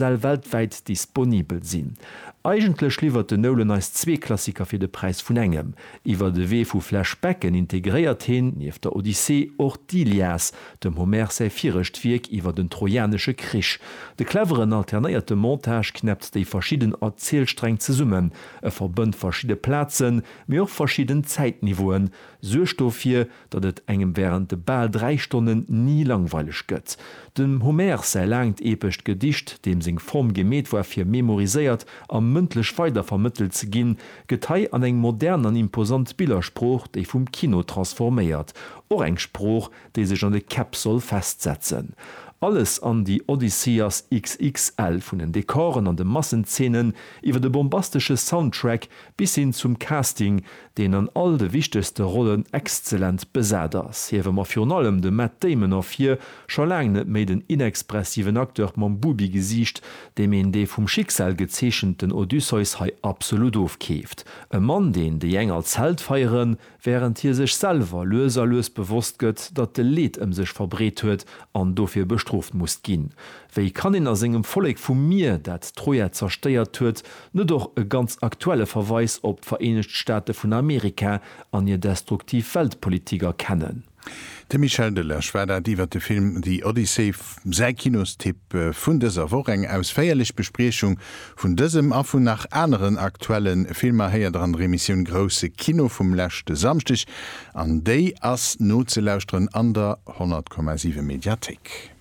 Säll weltwäit disponibel sinn. Eigentlech liwwert den Nolan eis zwee Klassiker fir de Präis vun engem. Iwwer e Wee vu Flashbacken integréiert heen, nieft der Odyssee, och d'Ilias, dem Homer säi virescht Wierk iwwer den Trojanesche Krich. De cleveren alternéierte Montage knäppt déi verschidden Erzielsträng zesummen, e verbënnt verschidde Plazen, mee och verschidden Zäitniveauen, suergt dofir, datt et engem wärend de bal 3 Stonnen ni langweileg gëtt. Dem Homer säi laangt epescht Gedicht, deem seng Form gemeet war fir memoriséiert a mëndlech weidervermëttelt ze ginn, gëtt hei an eng modern an imposant Billersprooch, déi vum Kino transforméiert, och eng Sprooch, déi sech an de Käpp soll festsetzen. Alles an The Odyssey ass XXL, vun den Dekoren an de Massenzeenen iwwer de bombastesche Soundtrack bis hin zum Casting, deen an all de wichtegste Rollen exzellent besat ass, hiewe mer virun allem de Matt Damon ervir, scho laang net méi den inexpressiven Acteur mam Bubi-Gesiicht, deem een dee vum Schicksal gezeechenten Odysseus hei absolut ofkeeft. E Mann, deen déi eng als Held feieren, wärend hie sech selwer lues a lues bewosst gëtt, datt e Leed ëm sech verbreet huet an dofir bestrooft muss ginn. Wéi kann een a sengem Vollek vum Mier, dat Troja zerstéiert huet, net och e ganz aktuelle Verweis op d'Vereenegt Staate vun Amerika an hir destruktiv Weltpolitik erkennen? De Michel Delage war dat iwwer de Film The Odyssey, säi Kinostipp vun dëser Woch. Eng ausféierlech Bespriechung vun dësem a vun nach aneren aktuelle Filmer héiert der an der Emissioun Grousse Kino vum leschte Samschdeg an déi ass nozelauschteren an der 100,7 Mediathéik.